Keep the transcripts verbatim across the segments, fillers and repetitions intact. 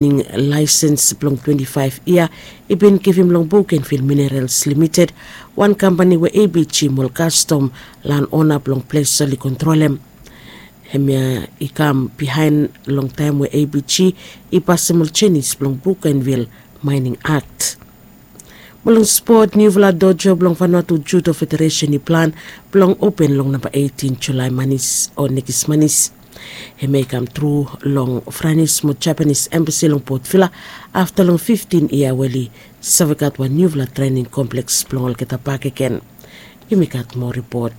Laesens blong twenti faef yia i bin givim long Bougainville Minerals Limited, wan kampani we A B G mo ol kastom lan ona blong ples oli kontrolem. Hemia i kam bihaen long taem we A B G i pasem ol jenis blong Bougainville Mining Act. Mo long spot, niufala dojo blong Vanuatu Judo Federation i plan blong open long namba eitin Julae manis o nekis manis. Hemia i kam tru long Franis mo Japanis embasi long Port Vila afta long fiftin yia we oli save gat wan niufala trening kompleks blong olgeta bakegen. Yumi gat moa ripot.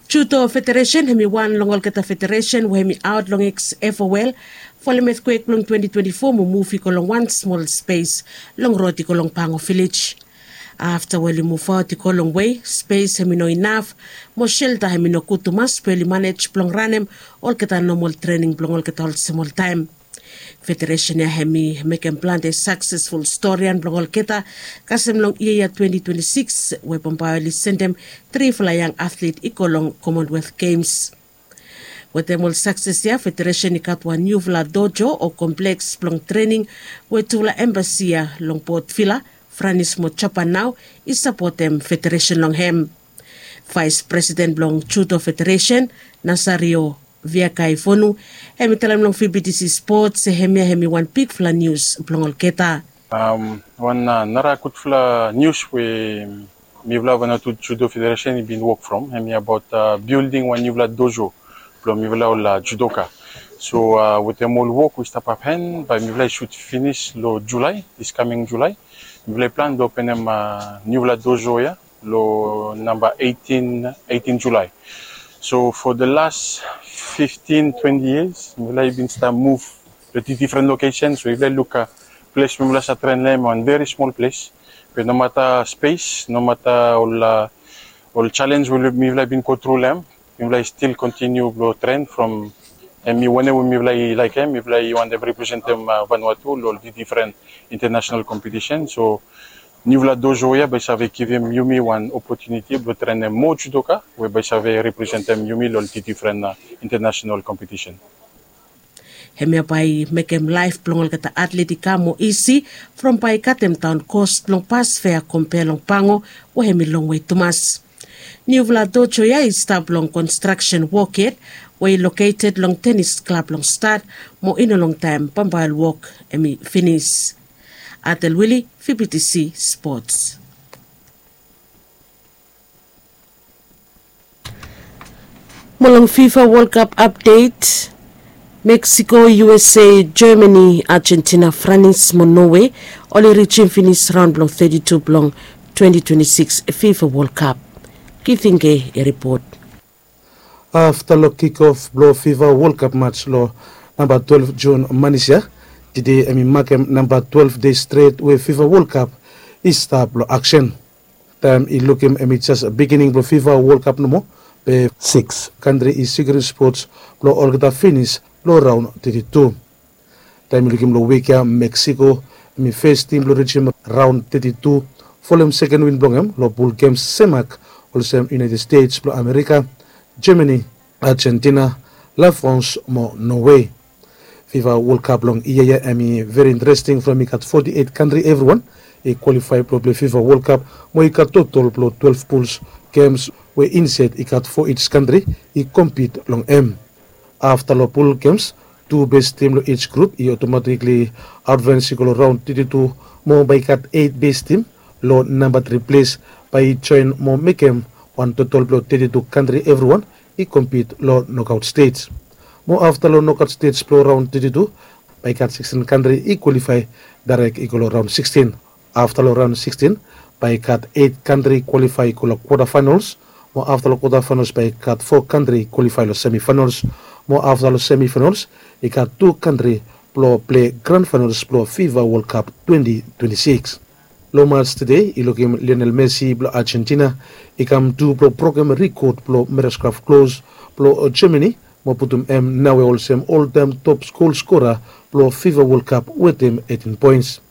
Judo Federation hemi wan long olgeta federation we hemi aot long X F O L folem etkwek blong twenti twenti fo mo muv i go long wan smol spes long rod i go long Pango Vilej. Afta we oli muvaot i go longwe, spes hemi no inaf mo shelta hemi no gud tumas be oli manej blong ranem olgeta nomol trening blong olgeta olsem oltaem. Federesen ya hemi mekem plante saksesful storian blong olgeta kasem long yia ya twenti twenti sikis we bambae oli sendem trifala yang atlet i go long Commonwealth Games. Wetem ol sakses ya, federesen i gat wan niufala dojo o kompleks blong trening we tufala embasi ya long Port Vila, Franis mo Japan nao i sapotem federesen long hem. Vaes presiden blong Judo Federesen, Nasario Viakaivonu, hemi talem long V B T C Spot se hemia hemi wan bigfala nius blong olgeta. Wan nara gudfala nius we mifala Vanuatu Judo Federesen i bin wok from hemi abaot bilding wan niufala dojo blong mifala ol judoka. So wetem ol wok we i stap hapen bae mifala i sud finis long Julae, dis kaming Julae, mifala i plan blong openem niufala dojo ya long namba eitin, eitin Julae. So for the last fiftin, twenti yias mifala i bin stap muv long difren lokesen. So mifala i luk ples we mifala save tren long hem wan veri smol ples. Be nomata spes, nomata ol ol jalens we mifala i bin go tru long hem, mifala i stil kontiniu blong tren from hemi wanem we mifala i laekem, mifala i wantem representem Vanuatu long ol difren intanasenal kompetisen. So niufala dojo ya bae i save givim yumi wan opotuniti blong trenem moa judoka we bae i save representem yumi long ol difren intanasenal kompetisen. Hemia bae i mekem laef blong olgeta atlet i kam moa isi from bae i gat hem daon kos blong bas fea kompea long Pango we hemi longwe tumas. Niufala dojo ya i stap long konstraksen wok yet we i loketed long tenis klab long Stad mo i no longtaem bambae ol wok hemi finis. Atel Wili, V B T C Sports. Mo long FIFA World Cup update, Mexico, U S A, Germany, Argentina, Franis mo Norway oli rijim finis raon blong teti tu blong twenti twenti sikis FIFA World Cup. Kitinge i ripot. Afta long kikof blong FIFA World Cup mats long namba twelef Jun manis ya, tede hemi makem namba twelef dei stret we FIFA World Cup i stap long aksen. Taem i lukim hemi jes bigining blong FIFA World Cup nomo, be sikis kantri i sikurim spots blong olgeta finis long raon teti tu. Taem i lukim long wik ya, Meksiko hemi fes tim blong rijim raon teti tu folem seken win blong hem long pul gems semak olsem United States blong Amerika, Germany, Argentina, La France mo Norway. FIFA World Cup long yia ya hemi veri interesting from i gat foti eit kantri evriwan i kwalifae blong pilei FIFA World Cup mo i gat totol blong twelef puls gems we insaed i gat fo ij kantri i kompit long hem. Afta long pul gems, tu bes tim long ij grup i otomatikli advens i go long raon teti tu mo bae i gat eit bes tim long namba tri ples bae i joen mo mekem wan totol blong teti tu kantri evriwan i kompit long nokaot stej. Mo afta long nokaot stej blong raon teti tu bae i gat sikstin kantri i kwalifae daerek i go long raon sikstin. Afta long raon sikstin bae i gat eit kantri i kwalifae i go long kwota faenols. Mo afta long kwota faenols bae i gat fo kantri i kwalifae long semi faenols. Mo afta long semi faenols i gat tu kantri blong pilei gran faenols blong FIFA World Cup twenti twenti sikis. Long mats tede i lukim Lionel Messi blong Argentina i kam tu blong brokem rikod blong Miroslav Klose blong Germany mo putum hem naoia olsem oltaem top gol skora blong FIFA World Cup wetem eitin poens.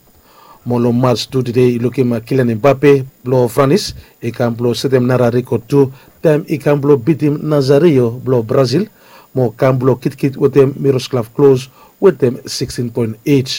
Mo long mats tu tede i lukim Kylian Mbappe blong Franis i kam blong setem nara rikod tu taem i kam blong bitim Nazario blong Brazil mo kam blong kitkit wetem mirosklav klos wetem sixteen point eight.